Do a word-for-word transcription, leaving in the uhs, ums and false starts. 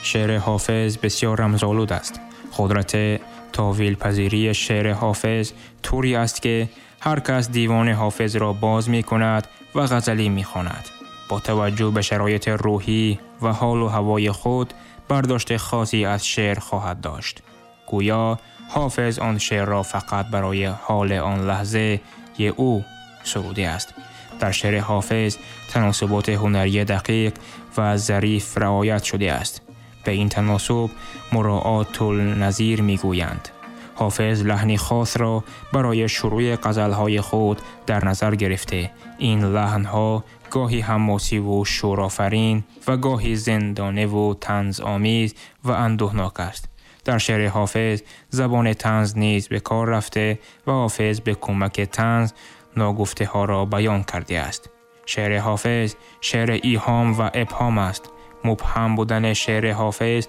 Шеъри Ҳофиз бисёр рамзолуд аст. Қудрати таъвилпазирии шеъри Ҳофиз тавре аст, ки ҳар кас девони Ҳофизро боз мекунад ва ғазале мехонад, бо таваҷҷӯҳ ба шароити рӯҳӣ ва ҳол ва ҳавои худ бардошти хосе аз шеър хоҳад дошт. Гӯё Ҳофиз он шеърро фақат барои ҳоли он лаҳзаи ӯ суруда аст. Дар шеъри Ҳофиз таносуботи ҳунарии дақиқ ва зариф риоят шудааст. Ба ин таносуб муроот-ун-назир мегӯянд. Ҳофиз лаҳни хосро барои шурӯи ғазалҳои худ дар назар гирифта. Ин лаҳнҳо гоҳе ҳамосӣ ва шӯрофарин ва гоҳе зиндона ва танзомез ва андӯҳнок аст. Дар шеъри Ҳофиз забони танз низ ба кор рафта ва Ҳофиз ба кӯмаки танз ногуфтаҳоро баён кардааст. Шеъри Ҳофиз шеъри эҳом ва ибҳом аст. Мубҳам будани шеъри Ҳофиз